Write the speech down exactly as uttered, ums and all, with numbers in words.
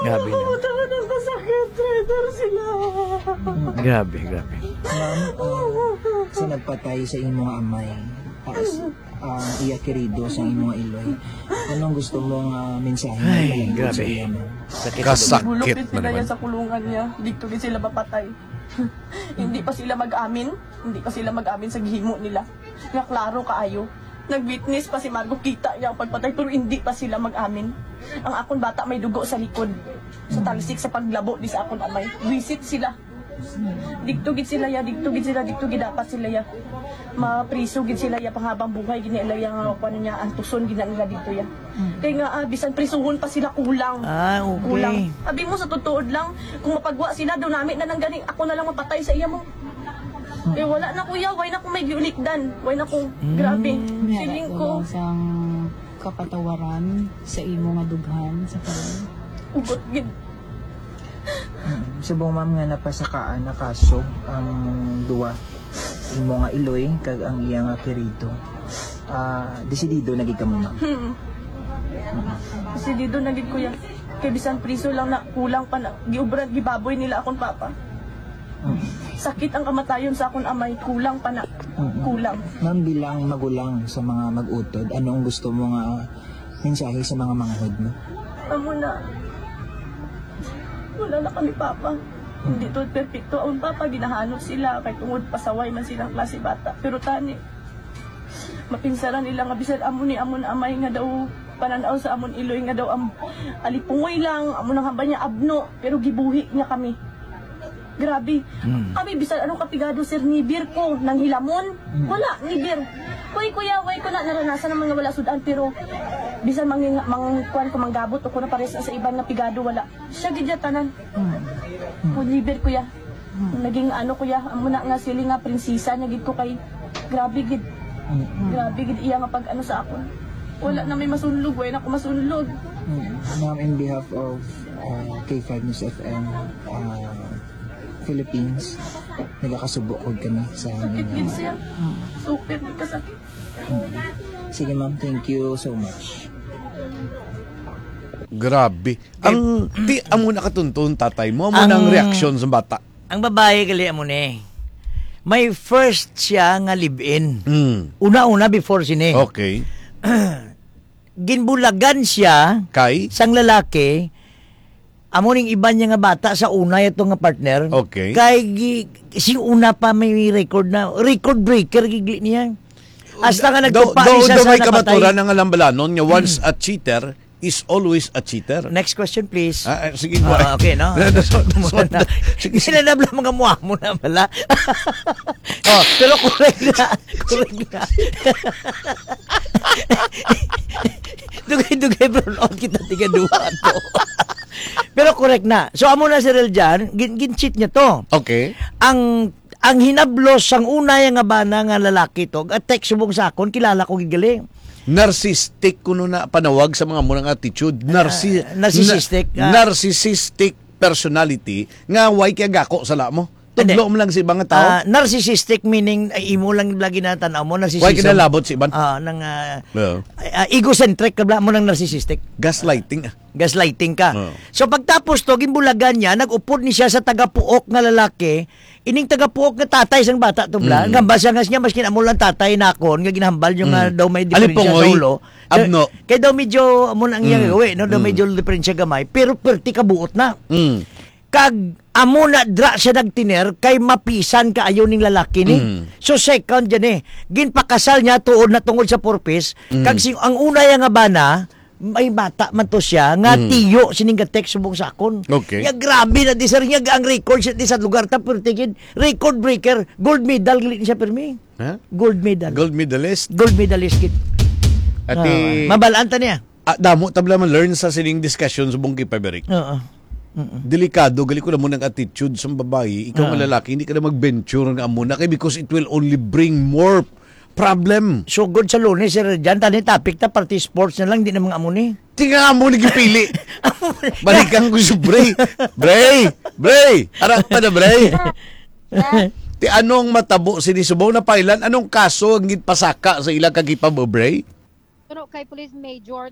Grabe na. Puta ka ng kasakit, traitor sila. Grabe, grabe. Ma'am, ah, sa nagpatay sa imong amay, ah, s-, ang iya kirido sa imong iloy, anong gusto mo nga mensahe Ay, mo sa grabe. Iya, ma'am? Sakit sa Kasakit. Bulok gid na sila naman. Yan sa kulungan niya. Dito gid sila mapatay. Hindi pa sila mag-amin. Hindi pa sila mag-amin sa gihimo nila. Nga klaro kaayo. Nag-witness pa si Margo, kita niya ang pagpatay, pero hindi pa sila mag-amin. Ang akon bata may dugo sa likod. Sa talsik, sa paglabo di sa akon amay. Wisit sila. Dito gid sila ya, dito gid sila, dito gid dapat sila ya. Mapriso gid sila ya, panghabang buhay gid nila ya, nga kuan niya, antuson gid na nila dito ya. Kay nga, ah, bisan prisuhon pa sila, kulang. Ah, okay. Kulang. Abi mo, sa tutuod lang, kung mapagwa sila, daw nami na lang gani, ako na lang mapatay sa iya mo. Eh, wala na, kuya. Why na ko may giulikdan? Why na ko? Mm. Grabe. May Feeling ko. Kulang sang kapatawaran sa imo nga dughan sa karon. Ugot gid. Mm. Subong, ma'am, nga napasakaan na kaso ang duwa, imo nga iloy kag ang iya nga kirito. Ah, desidido na gid kamo, ma'am? Hmm. Desidido na gid, kuya. Kay bisan priso lang na, kulang pa na. Giubran, gibaboy nila akong papa. Mm. Sakit ang kamatayon sa akong amay, kulang pa na. Mm. Kulang. Ma'am, bilang magulang sa mga mag-utod, ano ang gusto mo nga mensahe sa mga manghod mo? Amo na. Wala na kami papa. Hindi to perfecto. Ang papa, ginahanot sila kay tungod pasaway man silang klase bata. Pero tani, mapinsaran nila nga bisan amo ni amon amay nga daw pananaw sa amon iloy nga daw ang alipungoy lang, amo nang hambal niya abno, pero gibuhi niya kami. Grabe. Hmm. Kami, bisan anong kapigado, sir, nibir ko, nang hilamon, Hmm. wala, nibir. Kuy, kuya, way ko na naranasan naman nga wala sudan, pero bisan mang, mang, kuwan ko, manggabot o ko na pares sa iban nga pigado, wala. Siya gid ya tanan. Hmm. Hmm. Ko nibir, kuya. Hmm. Naging ano, kuya, amo na nga sili nga prinsesa na gid ko kay grabe gid. Hmm. Grabe gid iya nga pag-ano sa akon. Wala na may masunlog, wala na ako masunlog. Hmm. Ma'am, in behalf of, uh, K five News F M, uh, Philippines, nagakasubo ko kami sa Sakit inyo. Gid siya. Super kasakit. Hmm. Sige, ma'am, thank you so much. Grabe. Ang, ti, amo na katunton tatay mo, amo na ang Ang reaksyon sa bata. Ang babae gali amo ni. May first siya nga live-in. Mm. Una-una before sini. Okay. Ginbulagan siya Kay? sang lalaki, amo ning iban niya nga bata sa una yato nga partner. Okay. Kay gi-, si una pa may record na, record breaker gid niya. Hasta nga Daw, nagtupa daw, ni siya daw sa may napatay. Kamaturan ang alambalanon nga once a cheater, is always a cheater. Next question, please. Ah, ah, sige, Ah, boy. Okay, no? Sige. Sila na bala mga muamo na bala. Oh, pero correct na. Correct na. Dugay-dugay, bro. Out kita tiga duha to. Pero correct na. So, amo na si Reljan, gin-, gin-cheat niya to. Okay. Ang, ang hinablos sang una ya nga bana nga lalaki to, ga-text subong sa akon, kilala ko gid gali. Narcissistic kuno na panawag sa mga murang attitude. Narci-, Ah, narcissistic, na-, ah. Narcissistic personality nga way kay gako sa lamo. Hindi. Tudlo mo lang sa ibang tao. Ah, narcissistic meaning, ay, imo lang lagi na tanaw mo, narcissism. Way kinalabot sa iban. Ah, nang, ah, Yeah. ah, egocentric ka bala mo ng narcissistic. Gaslighting, ah. Gaslighting ka. Oh. So, pagtapos to, ginbulagan niya, nag-upod ni siya sa tagapuok nga lalaki, ining tagapuok nga tatay sang bata to, bla. Mm. Gamba siya nga siya, maskin amo lang tatay nakon, nga ginahambal yung, Mm. ah, daw may diferensya Alipungoy, sa ulo. Abno. Kay, kay daw medyo, amo na ang iyang Mm. gawin, no? Daw Mm. medyo diferensya gamay, pero perti ka buot na. Mm. Kag, amo na dra siya nagtiner, kay mapisan kaayo ning lalaki ni. Mm. So, second dyan eh, ginpakasal niya tuod na tungod sa purpose, Mm. kag sing, ang una ya nga bana, may bata man to siya nga Mm. tiyo sining ga-text subong sa akon. Okay. Nya grabe na di, sir, nya ang record siya di sa lugar ta, pero tigid, record breaker, gold medal gali ni siya, pirmi. Ha? Gold medal. Gold medalist? Gold medalist gid. Ati Ah, mabalaan ta niya. Ah, damo ta bala ma-learn sa sining discussion subong kay Pabrik. Oo. Mm-mm. Delikado gali ko na mo ng attitude sa babayi, ikaw Oo. nga lalaki, hindi ka na mag-venture nga amo na kay because it will only bring more problem. Sugod sa Lunes, Sir Jan, tani topic ta, party sports na lang, di na mga amo ni. Tinga amo ni gipili. Balikan ko si Bray. Bray! Bray! Harap pa na, Bray! Ti anong matabo sini subong na pailan? Anong kaso ang ginpasaka sa ila kag ipab-, Bray? Pero kay Police Major